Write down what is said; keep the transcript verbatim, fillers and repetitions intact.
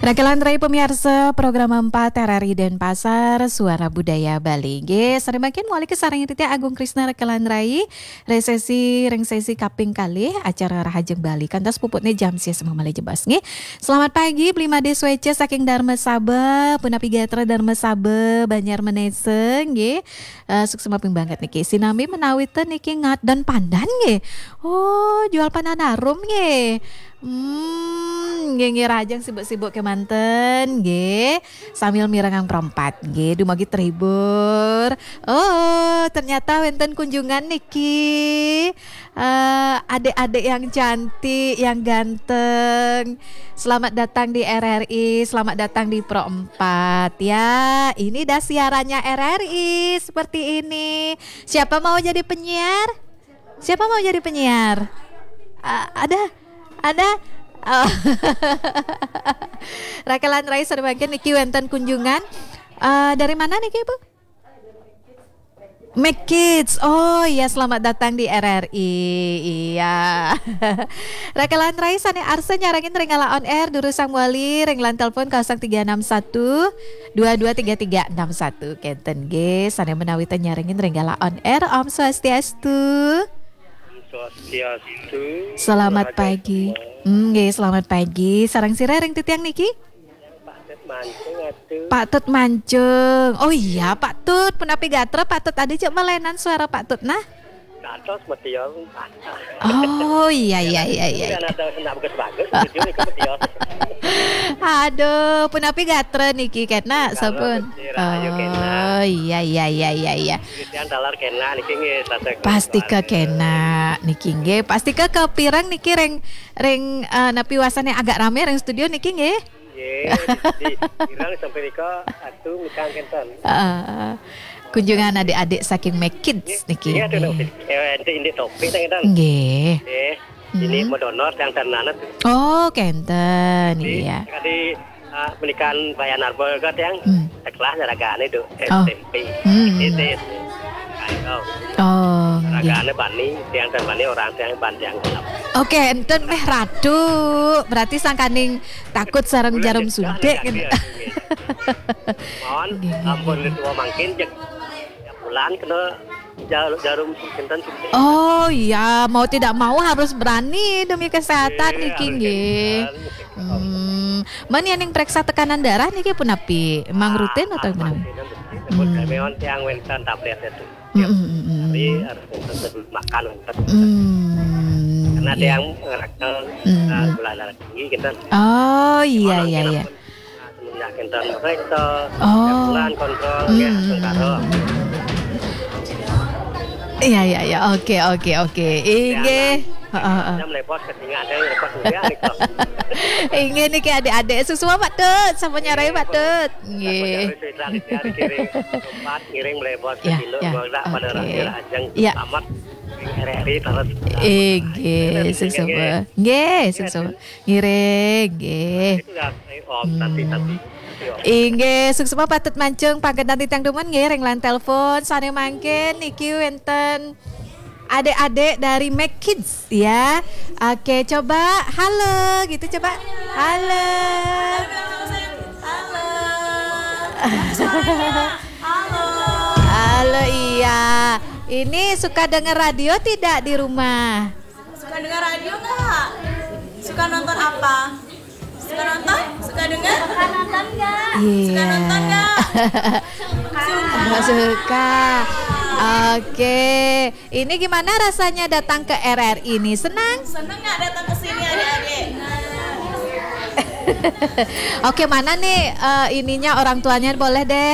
Rakelan rai pamiarsa, program empat R R I Denpasar, Suara Budaya Bali. Nggih, sareng mangkin malih kasarengin titiang Agung Krisna Rakelan rai, ring sesi, ring sesi kaping kalih acara Rahajeng Bali. Kantos puputne jam sisiu malih jebos, nggih. Selamat pagi, Bli Made Sweca saking Dharma Saba, punapi gatra Dharma Saba, Banjar Menesa, nggih. Eh, suksma ping banget niki. Sinambi menawi ten niki ngadon pandan nggih. Oh, jual pandan harum nggih. Hmm, nggih, nggih, rahajeng sibuk-sibuk kemanten nggih. Sambil mirengang perempat nggih, dumugi terhibur. Oh, ternyata wenten kunjungan niki. Eh, adik-adik yang cantik, yang ganteng. Selamat datang di R R I, selamat datang di Pro empat ya. Ini dah siarannya R R I seperti ini. Siapa mau jadi penyiar? Siapa mau jadi penyiar? Ah, ada? Ada? Oh. Rakelan rai sareng mangkin niki wenten kunjungan. Eh, dari mana niki, Bu? Make Kids. Oh iya, selamat datang di R R I. Iya. Rakelan rai sane arsa nyarengin ring galah on air, durusang malih ring line telepon kosong tiga enam satu, dua dua tiga tiga enam satu. Kenten nggih, sane menawi ten nyarengin ring galah on air. Om Swastiastu. Swastiastu. Selamat pagi. Hmm, nggih, selamat pagi. Sareng sira ring titiang niki? Pak Tut Mancung, atuh. Pak Tut Mancung. Oh iya, Pak Tut, punapi gatra Pak Tut, adi cek melenan suara Pak Tut nah. Dados metia. Oh iya, iya, iya, iya. Kan ada kena bagus-bagus, studio niki metia. Aduh, punapi gatra niki kena sampun. Rahayu kena. Oh iya, iya, iya, iya, iya. Titiang taler kena niki nggih, tasek. Pastika kena niki nggih. Pastika kepireng niki ring, ring, eh, napi wasane agak rame ring studio niki nggih. Nggih, di, di Irang sampai nika atu mikang kenten. Heeh. Kunjungan adik-adik saking Make Kids niki. Iya, tuh, nggih. Eh, ente indik topik, tang, kenten. Nggih. Nggih. Ini Hmm. Modonor yang tanana tuh. Oh, kenten, iya. Tadi, ah, menikan Bayan Arbol ka tiang, hmm, sekelas ragane tuh, oh, S M P. Hmm. S D, S D. Ayo. Oh, nggih. Ragane bani, tiang dan bani orang tiang ban tiang gelap. Oke, enten meh ratu. Berarti sangkaning takut sareng jarum suntik, kenten. Mohon ampun, nggih, nggih, nggih. Tua mangkin, jeg-, ya, bulan kena jar-, jarum suntik, kenten, suntik. Oh iya, mau tidak mau harus berani demi kesehatan niki, nggih. Nggih, harus kenten. Hmm, men yen ning preksa tekanan darah niki punapi? Emang rutin atau gimana? Ah, rutin, rutin. Hmm. Kami on tiang wenten tablet itu. Mm, mm, mm, mm. Jadi harus sebelum makan. Hmm. Karena ada yang ngerasa, eh, gula darah tinggi, kita. Oh, iya, iya, iya. Semenjak kita meriksa, oh, kontrol, ya, hmm, sementara. Iya, iya, iya. Oke, oke, oke. Inggih. Heeh, heeh. Kita melepos ke sini, ada yang lepas juga nih, kok. Inggih niki adik-adik. Suksma Pak Tut, sampun nyarai Pak Tut. Nggih. Sampun nyarai, cerita, cerita, kirim tempat, ngiring melepos ke, ya, sini, ya, pada, oke, rakyat ajeng, ya, selamat. R R I terus. Inggih, suksma. Nggih, suksma. Ngiring, nggih. Itu ya, eh, Om, nanti, nanti. Inggih, suksma Pak Tut Mancung, panggentan titiang dumun nggih ring line telepon. Sane mangkin niki wenten adik-adik dari Make Kids ya. Oke, coba halo gitu coba. Halo. Halo. Halo. Halo, iya. Ini suka dengar radio tidak di rumah? Suka dengar radio nggak? Suka nonton apa? Suka nonton? Suka dengar? Suka nonton nggak? Iya. Suka nonton nggak? Suka. Suka. Oke. Ini gimana rasanya datang ke R R I ini? Senang? Senang nggak datang ke sini, adik-adik? Oke, mana nih, eh, ininya, orang tuanya? Boleh deh.